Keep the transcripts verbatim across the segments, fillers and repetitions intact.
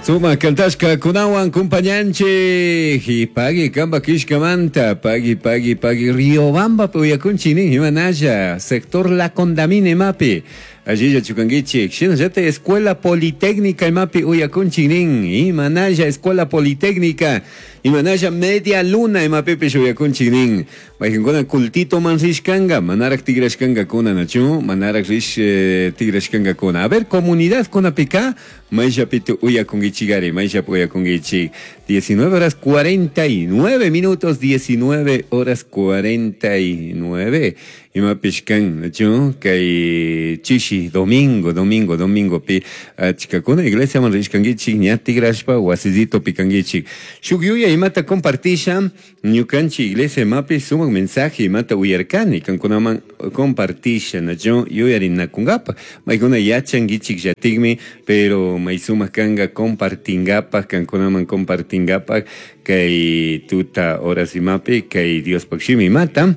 Sumak kantashkakunawan kumpañanchik y pagui kamba kishkamanta pagui pagui pagui Riobamba uyakunchik nin imanalla sector La Condamina imapi allilla chukankichik shinallata Escuela Politécnica imapi uyakunchik nin imanalla Escuela Politécnica imanalla Media Luna imapipish uyakunchik nin mayqinkuna cultito man rishkanka manarak tigrashkankakuna nachu manarak rish eh, tigrashkankakuna. A ver, comunidad kunapika mayllapita uyakunkichikari mayllapi uyakunkichik. diecinueve horas cuarenta y nueve minutos, diecinueve horas cuarenta y nueve imapish kan nachu kay chishi domingo domingo domingo pi achkakuna iglesiaman rishkankichik ña tigrashpa wasillitopi kankichik. Shuk yuyay imata compartisha ñukanchik iglesia imapi sumak mensaje imata uyarkani kankunaman compartisha nachu yuyarinakunkapa maykuna yachankichik llatikmi pero may sumak kanka compartinkapak kankunaman compartinkapak kay tuta horas imapi kay Diospak shimi imata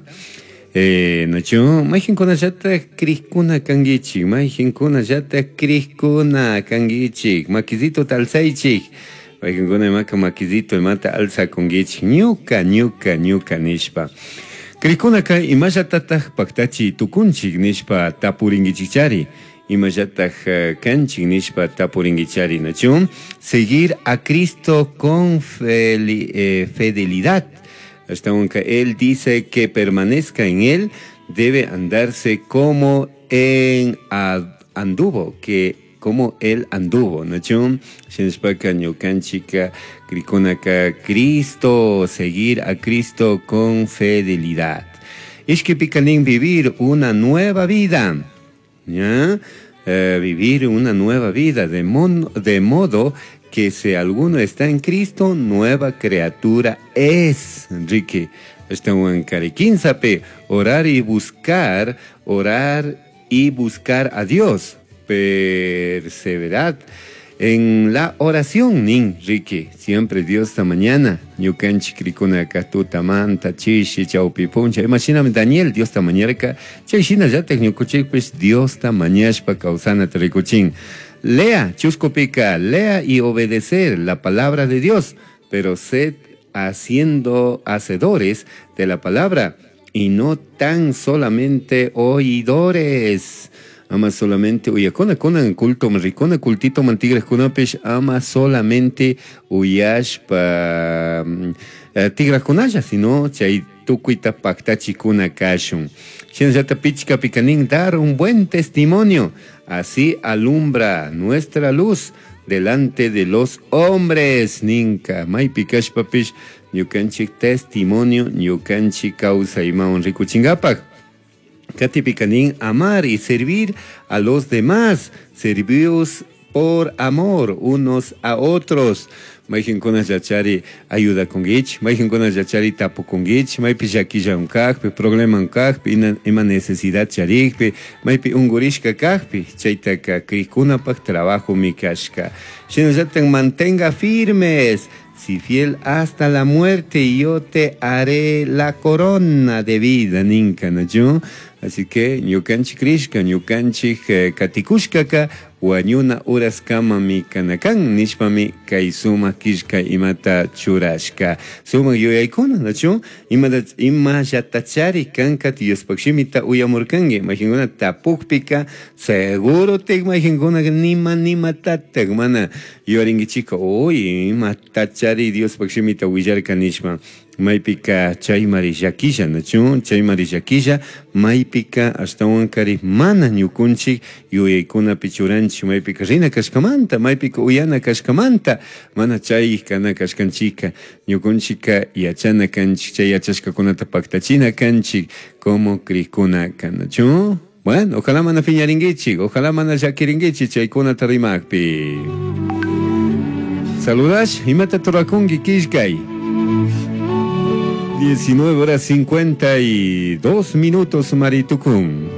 eh, nachu mayqinkunallatak krikuna kankichik mayqinkunallatak krikuna kankichik makisito alzaychik mayqinkuna imaka makisito imata alzakunkichik ñuka ñuka ñuka nishpa. Krikunaka imallatataj paktachi tukunchik nishpa tapurinkichikchari imallataj eh, kanchik nishpa tapurinkichari nachu. Seguir a Cristo con eh, fidelidad. Hasta aunque él dice que permanezca en él, debe andarse como en anduvo, que como él anduvo, ¿no? Shinashpaka ñukanchika krikunaka Cristo, seguir a Cristo con fidelidad. Ishkipika nin vivir una nueva vida, ¿ya? Eh, vivir una nueva vida, de, mon, de modo que si alguno está en Cristo, nueva criatura es. Enrique, orar y buscar, orar y buscar a Dios. Perseverad en la oración, nin, Ricky. Siempre Dios ta mañana. Ñukanchik krikunaka tutamanta, chishi, chawpi puncha. Imashinami Daniel Dios ta mañarka. Chay shinallatak ñukuchikpish Dios ta mañashpa kawsanata rikuchin. Lea, chuskupika, lea y obedecer la palabra de Dios, pero sed haciendo hacedores de la palabra y no tan solamente oidores. Ama solamente uyakuna kunan culto rikuna cultito man tigrajkunapish ama solamente uyashpa eh, tigrajkunalla sino chay tukuyta paktachikuna kashun. Shinallata pichkapika nin dar un buen testimonio, así alumbra nuestra luz delante de los hombres ninka. Maypi kashpapish ñukanchik testimonio ñukanchik kawsayman rikuchinkapak. Katipika nin amar y servir a los demás, servios por amor unos a otros. Mayqinkuna yachari ayudakunkichik, mayqinkuna yachari tapukunkichik, maypi llakilla kajpi, problema kajpi, ima necesidad charikpi, maypi unkurishka kajpi, chaytaka krikunapak trabajo mi kashka. Shinallatak mantenga firmes, si fiel hasta la muerte, yo te haré la corona de vida, ninka, ¿no? Así que ñukanchik krishka, ñukanchik eh, katikushkaka, wañuna uraskamami kanakan, nishpami kay sumak killka imata churashka. Sumak yuyaykuna, nachu? Imata imallatachari kanka Diospaq shimita uyamurkanki, mayqinkuna tapukpika, seguro tik mayqinkuna nima nimatatak mana yuyarinkichika, uy, imatachari Diospaq shimita willarka nishpa. Maypika chaymari llakilla, nachu? Chaymari llakilla, maypika ashtawankari mana ñukunchik yuyaykunapi churanchik, maypika rina kashkamanta, maypika uyana kashkamanta, mana chay kana kashkanchika, ñukunchika yachana kanchik, chay yachashkakunata paktachina kanchik, como krikuna kanachu? Bueno, ojalá mana phiñarinkichik, ojalá mana llakirinkichik chaykunata rimakpi. Saludash, imata turakunki killkay. diecinueve horas cincuenta y dos minutos, Maritukun.